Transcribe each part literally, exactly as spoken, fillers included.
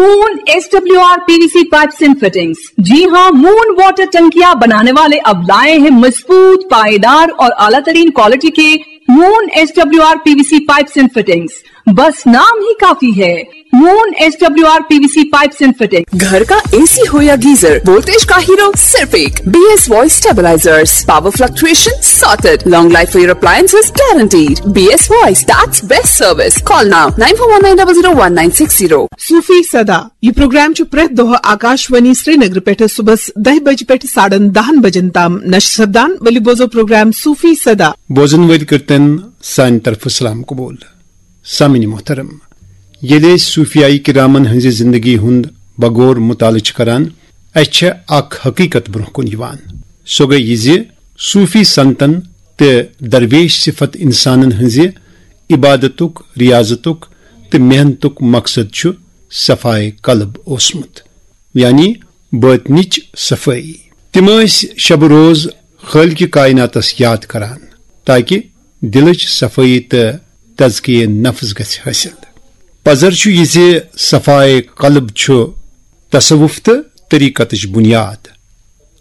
Moon S W R P V C pipes and fittings. जी हाँ, moon water टंकियां बनाने वाले अब लाए हैं मजबूत, पायेदार और आला तरीन क्वालिटी के moon S W R P V C pipes and fittings. बस नाम ही काफी है, moon S W R P V C pipes and fittings. घर का एसी हो या गीजर, वोल्टेज का हीरो सिर्फ एक। B S voice stabilisers, power fluctuation sorted, long life for your appliances guaranteed. B S voice, that's best service. Call now, nine four one nine double zero one nine six zero. صوفی صدا۔ یہ programme چھُ پرٛٮ۪تھ دۄہ آکاشوانی سرینگر پٮ۪ٹھٕ صُبحس دَہہِ بجہِ پٮ۪ٹھٕ ساڑن دَہن بجن تام نشر سپدان۔ ؤلِو بوزو پروگرام صوفی صدا۔ بوزن وٲلۍ کٔرتن سانہِ طرفہٕ سلام قبول۔ سامعین محترم، ییٚلہِ أسۍ صوفیائی کرامن ہٕنٛزِ زندگی ہُنٛد بغور مطالعہٕ چھِ کران، اسہِ چھےٚ اکھ حقیقت برونٛہہ کُن یِوان۔ سۄ گٔے یہِ زِ صوفی سنتن تہٕ درویش صفت انسانن ہٕنٛزِ عبادتُک، ریاضتُک تہٕ محنتُک مقصد چھُ صفائے قلب اوسمُت، یعنی باطنٕچ صفٲیی۔ تِم ٲسۍ شب روز خٲلقِ کائناتس یاد کران، تاکہ دلٕچ صفٲیی تہٕ تزکیہ نفس گژھِ حٲصِل۔ پزر چھُ یہِ زِ صفائے قلب چھُ تصوف تہٕ طریقتٕچ بنیاد،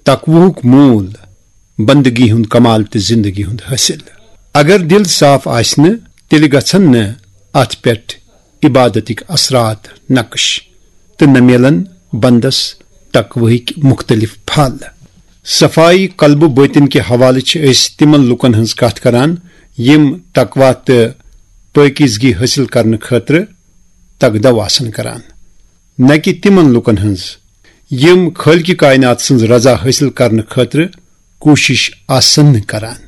تقوہُک موٗل، بندگی ہُنٛد کمال تہٕ زندگی ہُنٛد حٲصِل۔ اگر دل صاف آسہِ نہٕ، تیٚلہِ گژھن نہٕ اتھ پٮ۪ٹھ عبادتٕکۍ اثرات نقش تہٕ نہ میلن بندس تقوہٕکۍ مختلف پھل۔ صفائی قلب و باطن کہِ حوالہٕ چھِ أسۍ تِمن لوٗکن ہٕنٛز کتھ کران، یِم تقویٰ تہٕ پٲکیزگی حٲصِل کرنہٕ خٲطرٕ تگدو آسن کران، نہ کہِ تِمن لوٗکن ہٕنٛز، یِم خٲلقِ کائنات سٕنٛز رضا حٲصِل کرنہٕ خٲطرٕ کوٗشش آسن نہٕ کران۔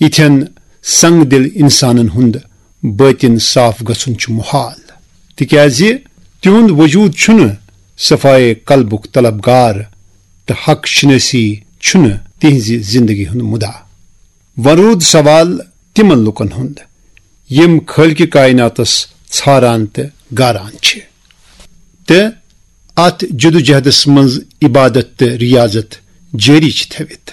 یِتھٮ۪ن سنگ دل انسانن ہُنٛد باطن صاف گژھُن چھُ محال، تِکیازِ تِہُنٛد وجود چھُنہٕ صفائے قلبُک طلبگار تہٕ حق شناسی چھُنہٕ تِہنٛزِ زندگی ہُنٛد مُدعا۔ وۄنۍ روٗد سوال تِمن لوٗکن ہُنٛد، یِم خٲلقِ کائناتس ژھاران تہٕ گاران چھِ تہٕ اتھ جدوجہدس منٛز عبادت تہٕ ریاضت جٲری چھِ تھٲوِتھ۔